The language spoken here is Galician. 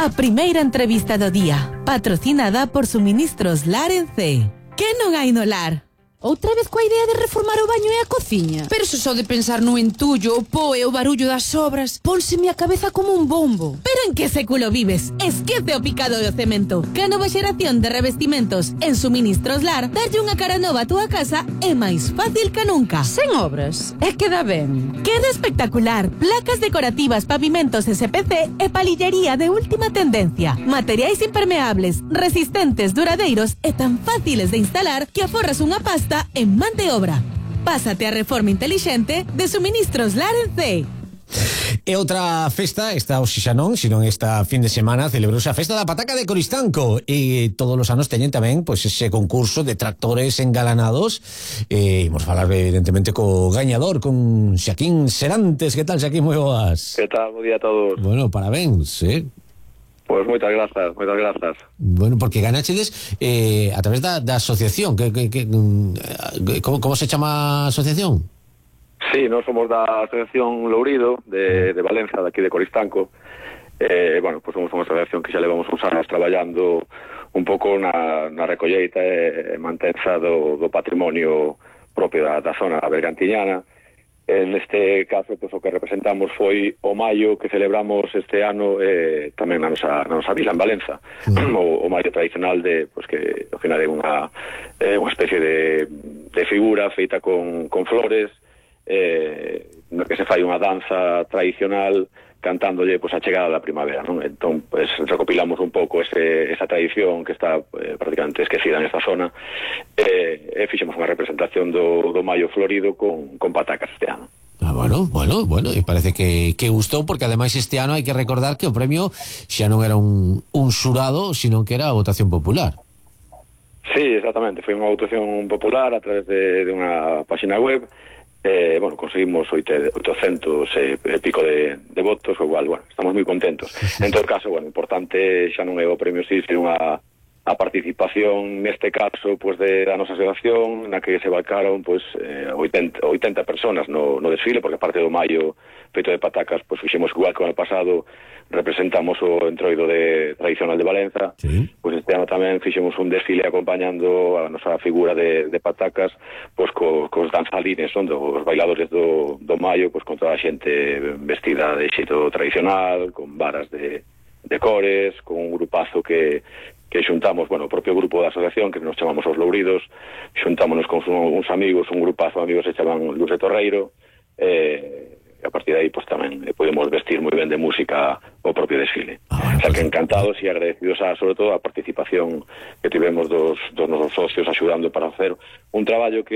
a primeira entrevista do día, patrocinada por Suministros Lar en C. Que non hai no lar? Outra vez coa idea de reformar o baño e a cociña? Pero se só de pensar no entullo, o po e o barullo das obras, pónseme a cabeza como un bombo. Pero en que século vives? Esquece o picado do cemento. Que a nova xeración de revestimentos en Suministros Lar darlle unha cara nova a túa casa é máis fácil que nunca. Sen obras, é que dá ben. Queda espectacular. Placas decorativas, pavimentos SPC e palillería de última tendencia. Materiais impermeables, resistentes, duradeiros e tan fáciles de instalar que aforras unha pasta en man de obra. Pásate a reforma inteligente de Suministros Lar en C. E outra festa, esta hoxe xa non, sino esta fin de semana celebrouse a festa da pataca de Coristanco e todos os anos teñen tamén pois ese concurso de tractores engalanados e imos falar evidentemente co gañador, con Xaquín Serantes. Que tal, Xaquín? Moi boas. Que tal? Bo día a todos. Bueno, parabéns, Pois moitas grazas, moitas grazas. Bueno, porque ganachedes a través da asociación, como se chama a asociación? Sí, nós somos da Asociación Lourido de Valencia, daqui de Coristanco. Bueno, pues somos unha asociación que xa levamos uns anos traballando un pouco na recolleita e mantenza do patrimonio propio da zona bergantiñana. En este caso, pues, o que representamos foi o maio que celebramos este ano tamén na nosa vila en Valenza. O maio tradicional pues, que ao final é unha especie de figura feita con flores, no que se fai unha danza tradicional cantándolle pues, a chegada da primavera, non? Entón, pues, recopilamos un pouco esa tradición que está prácticamente esquecida nesta zona e fixemos unha representación do Maio Florido con patacas este ano. Bueno, e parece que gustou, porque ademais este ano hai que recordar que o premio xa non era un xurado, sino que era a votación popular. Sí, exactamente, foi unha votación popular a través de unha página web. Bueno, conseguimos 800 e pico de votos, o igual, bueno, estamos moi contentos. En todo caso, bueno, importante xa non é o premio sí, sino a participación neste caso, pues, da nosa asociación, na que se vacaron pues 80 personas no desfile, porque aparte do maio feito de patacas, pues fixemos igual que o ano pasado, representamos o entroido tradicional de Valenza. Sí. Pues este ano tamén fixemos un desfile acompañando a nosa figura de patacas, pues cos danzalines, son dos bailadores do maio, pues con toda a xente vestida de xeito tradicional, con varas de cores, con un grupazo que xuntamos, bueno, o propio grupo da asociación, que nos chamamos os Louridos, xuntámonos con uns amigos, un grupazo de amigos se chaman Luz de Torreiro, e a partir de aí, pues tamén podemos vestir moi ben de música o propio desfile. O sea, que encantados e agradecidos sobre todo a participación que tivemos dos nosos socios axudando para hacer un traballo que